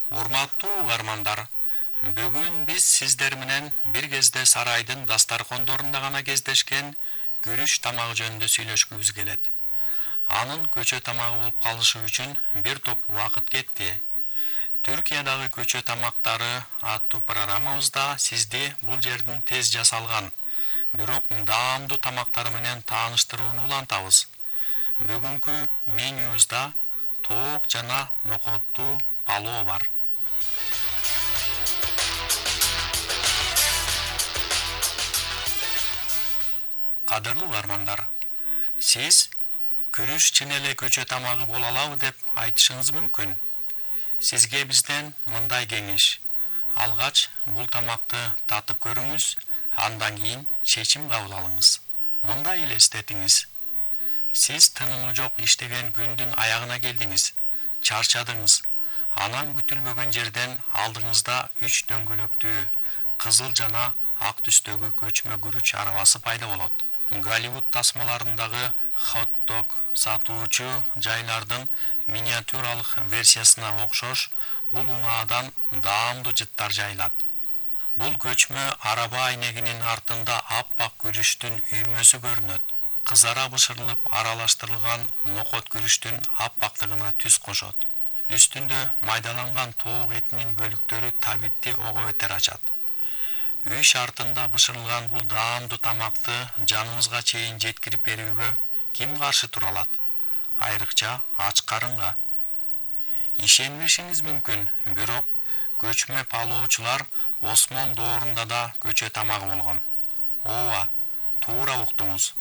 Урматтуу угармандар, бүгүн биз сиздер менен бир кезде сарайдын дастаркондорунда гана кездешкен күрүч тамагы жөнүндө сүйлөшкүбүз келет. Анын көчө тамагы болуп калышы үчүн бир топ убакыт кетти. Түркиядагы көчө тамактары аттуу программабызда сизди бул жердин тез жасалган, бирок даамдуу тамактары менен тааныштырууну улантабыз. Бүгүнкү менюбузда тоок жана нокоттуу палоо бар. Кадырлуу угармандар, сиз күрүч чын эле көчө тамагы боло алабы деп айтышыңыз мүмкүн. Сизге бизден мындай кеңеш: алгач бул тамакты татып көрүңүз, андан кийин чечим кабыл алыңыз. Мындай элестетиңиз: сиз тынымы жок иштеген күндүн аягына келдиңиз, чарчадыңыз. Анан күтүлбөгөн жерден алдыңызда 3 дөңгөлөктүү, кызыл жана ак түстөгү көчмө күрүч арабасы пайда болот. Голливуд тасмаларындагы хот-дог сатуучу жайлардын миниатюралык версиясына окшош бул унаадан даамдуу жыттар жайылат. Бул көчмө араба айнегинин артында аппак күрүчтүн үймөсү көрүнөт. Кызара бышырылып аралаштырылган нокот күрүчтүн аппактыгына түс кошот. Үстүндө майдаланган тоок этинин бөлүктөрү табитти ого бетер ачат. Үй шартында бышырылган бул даамдуу тамакты жаныбызга чейин жеткирип берүүгө ким каршы тура алат? Айрыкча ач карынга. Ишенбешиңиз мүмкүн, бирок көчмө палоочулар Осмон доорунда да көчө тамагы болгон. Ооба, туура уктуңуз.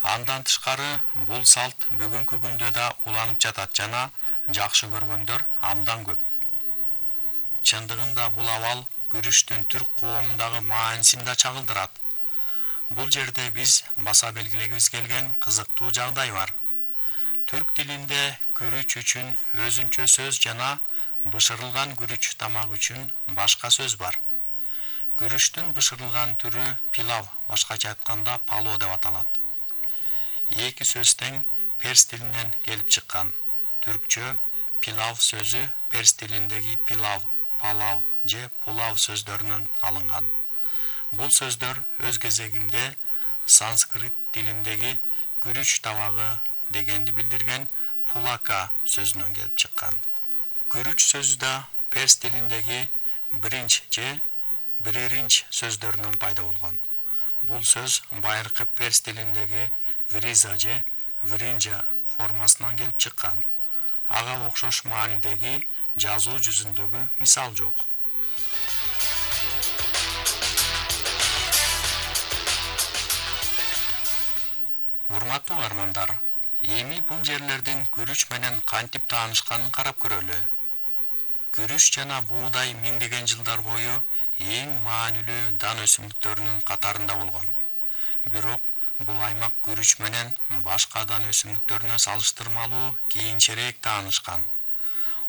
Андан тышкары бул салт бүгүнкү күндө да уланып жатат жана жакшы көргөндөр абдан көп. Чындыгында бул абал күрүчтүн түрк коомундагы маанисин да чагылдырат. Бул жерде биз баса белгилегибиз келген кызыктуу жагдай бар. Түрк тилинде күрүч үчүн өзүнчө сөз жана бышырылган күрүч тамак үчүн башка сөз бар. Күрүчтүн бышырылган түрү пилав, башкача айтканда палоо деп аталат. Эки сөз тең перс тилинен келип чыккан. Түркчө пилав сөзү перс тилиндеги пилав, палав же пулав сөздөрүнөн алынган. Бул сөздөр өз кезегинде санскрит тилиндеги күрүч табагы дегенди билдирген пулака сөзүнөн келип чыккан. Күрүч сөзү да перс тилиндеги бринч же бриринч сөздөрүнөн пайда болгон. Бул сөз байыркы перс тилиндеги вриза же вринжа формасынан келип чыккан. Ага окшош маанидеги жазуу жүзүндөгү мисал жок. Урматтуу угармандар, эми бул жерлердин күрүч менен кантип таанышканын карап көрөлү. Күрүч жана буудай миңдеген жылдар бою эң маанилүү дан өсүмдүктөрүнүн катарында болгон. Бирок бул аймак күрүч менен башка дан өсүмдүктөрүнө салыштырмалуу кийинчерээк таанышкан.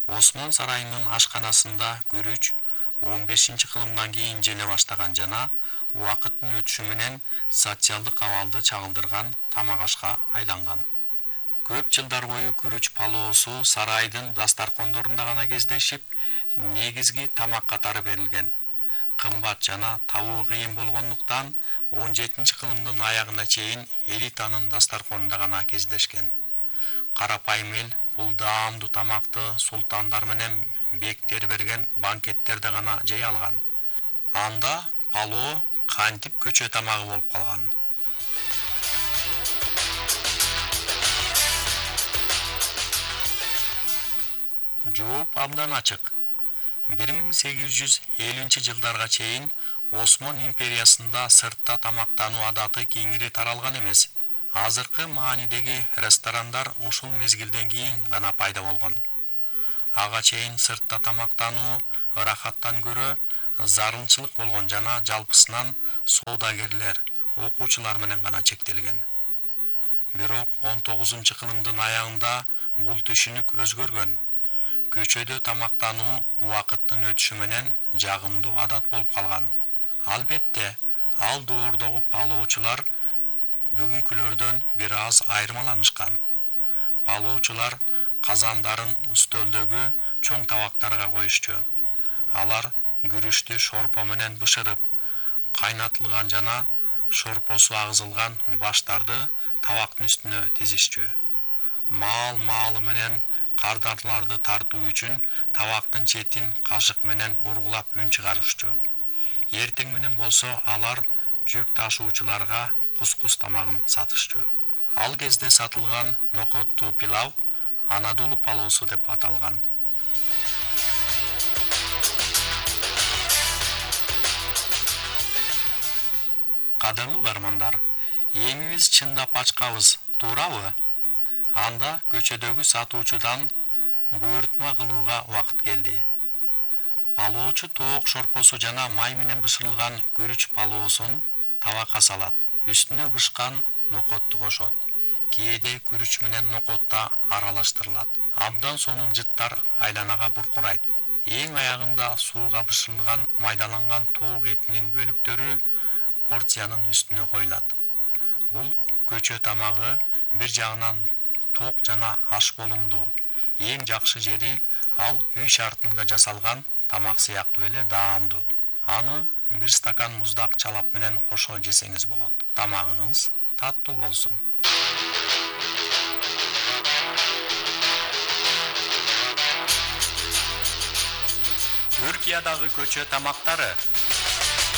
Осмон сарайынын ашканасында күрүч 15-кылымдан кийин желе баштаган жана убакыттын өтүшү менен социалдык абалды чагылдырган тамак ашка айланган. Көп жылдар бою күрүч палоосу сарайдын дастаркондорунда гана кездешип, негизги тамак катары берилген. Кымбат жана табуу кыйын болгондуктан 17-кылымдын аягына чейин элитанын дастарконунда гана кездешкен. Карапайым эл бул даамдуу тамакты султандар менен бектер берген банкеттерде гана жей алган. Анда палоо кантип көчө тамагы болуп калган? Жооп абдан ачык. 1850-жылдарга чейин Осмон империясында сыртта тамактануу адаты кеңири таралган эмес. Азыркы маанидеги ресторандар ушул мезгилден кийин гана пайда болгон. Ага чейин сыртта тамактануу ырахаттан көрө зарылчылык болгон жана жалпысынан соодагерлер, окуучулар менен гана чектелген. Бирок 19-кылымдын аягында бул түшүнүк өзгөргөн. Көчөдө тамактануу убакыттын өтүшү менен жагымдуу адат болуп калган. Албетте, ал доордогу палоочулар бүгүнкүлөрдөн бир аз айырмаланышкан. Палоочулар казандарын үстөлдөгү чоң табактарга коюшчу. Алар күрүчтү шорпо менен бышырып, кайнатылган жана шорпосу агызылган баштарды табактын үстүнө тизишчү. Маал-маалы менен кардарларды тартуу үчүн табактын четин кашык менен ургулап үн чыгарышчу. Эртең менен болсо алар жүк ташуучуларга кускус тамагын сатышчу. Ал кезде сатылган нокоттуу пилав Анадолу палоосу деп аталган. Кадырлуу угармандар, эңибиз чындап ачкабыз, туурабы? Анда көчөдөгү сатуучудан буйртма кылууга убакыт келди. Палоочу тоок шорпосу жана май менен бышырылган күрүч палоосун табакка салат. Үстүнө бышкан нокотту кошот. Кээде күрүч менен нокот да аралаштырылат. Абдан сонун жыттар айланага буркурайт. Эң аягында сууга бышырылган майдаланган тоок этинин бөлүктөрү порциянын үстүнө коюлат. Бул көчө тамагы бир жагынан ток жана аш болумдуу. Эң жакшы жери ал үй шартында жасалган тамак сыяктуу эле даамдуу. Аны бир стакан муздак чалап менен кошо жесеңиз болот. Тамагыңыз таттуу болсун. Түркиядагы көчө тамактары